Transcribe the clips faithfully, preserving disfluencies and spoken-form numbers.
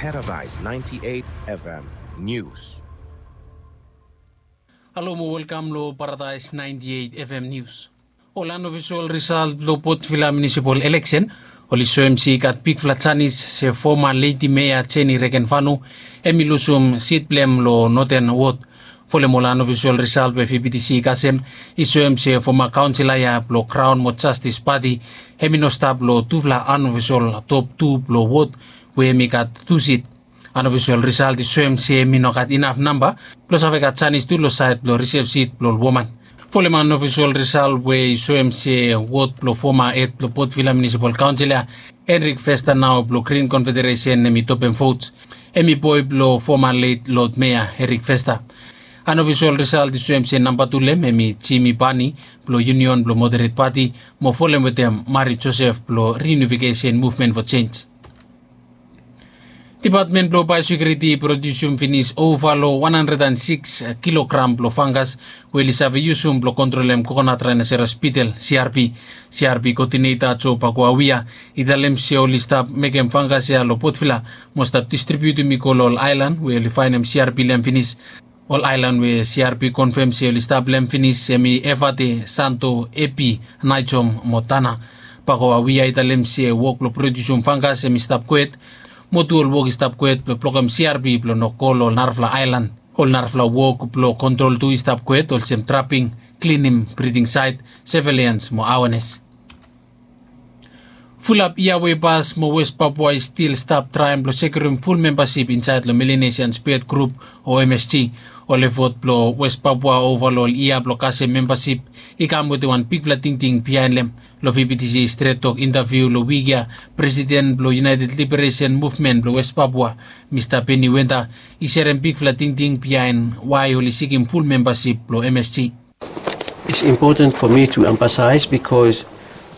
Paradise ninety-eight F M News. Halo mo welkam lo Paradise ninety-eight F M News. Ol unofficial result blo Port Vila municipal election oli soem se i gat bigfala janis se foma lady mayor Jenny Regenvanu hemi lusum sit blo hem lo Northern Ward. Folem ol unofficial result we V P T C i kasem i soem se foma kaonsela ya blo Crown mo Justice Party hemi no stap lo tufala unofficial top tu blo ward we hemi gat tu sit. Unofficial result i soem se hemi no gat inaf namba blo save gat janis tu lo saed blo reserve sit blo ol woman. Folem unofficial result we i soem se ward blo foma hed blo Port Vila Municipal Council ya, Henrik Vesta nao blo Green Confederation hemi topem votes. Hemi boe blo foma late Lord Mayor Henrik Vesta. Unofficial result i soem se namba tu lo hem hemi Jimmy Bani blo Union blo Moderate Party mo folem wetem Mari Joseph blo Reunification Movement for Change. Dipatmen blo Biosecurity i produsium finis ova lo wan handred and six kilogram blo fangas we oli save yusum blo kontrolem kokonat rhinoceros beetle, C R B. C R B koodineta Joe Pakuawia i talem se oli stap mekem fangas ya lo Port Vila mo stap distribiutum i go lo ol aelan we oli faenem C R B lo hem finis. Ol aelan we C R B konfem se oli stap lo hem finis hemi Efate, Santo, Epi, Naejom mo Tana. Pakuawia i talem se wok blo produsium fangas hemi stap kwet mo tu ol wok i stap kwet blo blokem C R B blo no go lo ol narafala aelan. Ol narafala wok blo kontrol tu i stap kwet olsem traping, klinim, briding saet, surveillance mo awenes. Fulap yia we i pas mo West Papua i stil stap traem blo sekiurim ful membasip insaed lo Melanesian Spirit Group o M S G. Ol efot blo West Papua ova lo ol yia blo kasem membasip i kam wetem wan bigfala tingting biaen lo hem. Lo V P T C Stret Tok intaviu lo wik ya, presiden blo United Liberation Movement blo West Papua, Mista Benny Wenda, i serem bigfala tingting biaen wae oli sikim ful membasip blo M S G. It's important for me to emphasize because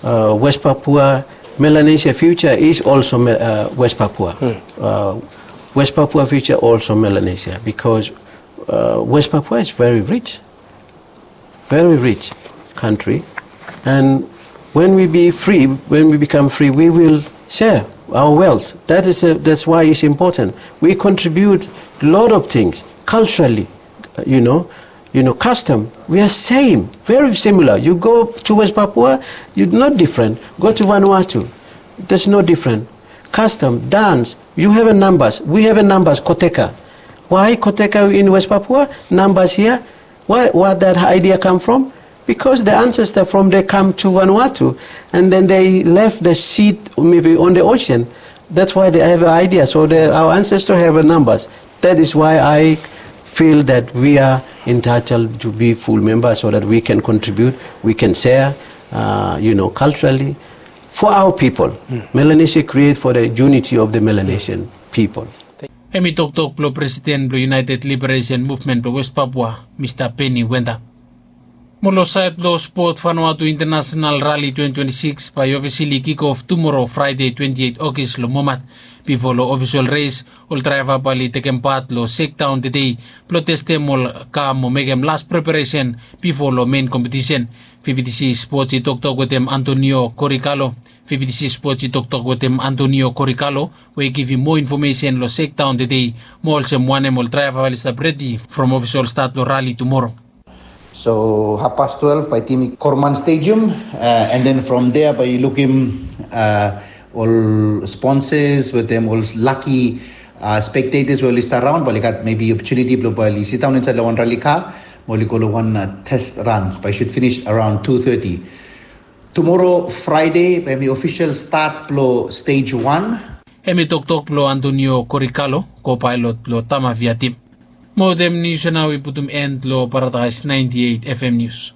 uh, West Papua, Melanesia future is also uh, West Papua. Uh, West Papua future also Melanesia because uh, West Papua is very rich, very rich country, and when we be free, when we become free, we will share our wealth. That is a, that's why it's important. We contribute a lot of things culturally, you know, you know, custom. We are same, very similar. You go to West Papua, you're not different. Go to Vanuatu, there's no different. Custom, dance, you have a numbers, we have a numbers, koteka. Why koteka in West Papua? Numbers here. Why, where that idea come from? Because the ancestor from there come to Vanuatu, and then they left the seed maybe on the ocean. That's why they have an idea. So the, our ancestors have a numbers. That is why I feel that we are entitled to be full members so that we can contribute, we can share, uh, you know, culturally for our people. Melanesia create for the unity of the Melanesian people. Hemi toktok blo presiden blo United Liberation Movement blo West Papua, Mista Benny Wenda. Mo lo saed blo spot, Vanuatu International Rally twenty twenty-six bae ofisali kikof tumoro, Fraede, twenty-eight Ogis, lo Momat. Bifo lo ofisol res, ol draeva bae oli tekem pat lo shakedown tede blo testem ol ka mo mekem las preparesen bifo lo mein kompetisen. V P T C Sports i toktok wetem Antonio Korikalo. V P T C Sports i toktok wetem Antonio Korikalo we i givim moa infomesen lo shakedown tede mo olsem wanem ol draeva oli stap redi from ofisol stat lo rali tumoro. So half past twelve bae tim i Korman Stadium, uh, and then from there bae yu lukim, uh, ol sponsors wetem ol lucky, uh, spectators we oli stap raon, bae oli gat maybe opportunity blo bae oli sidaon insaed lo wan rali ka mo oli go lo wan, uh, test run. Bae i should finish around two thirty. Tumoro Fraede bae hemi ofisol stat blo stage one. Hemi toktok blo Antonio Korikalo, co-pilot blo Tamavia tim. Mo wetem nius ya nao wi putum end lo Paradise ninety-eight F M News.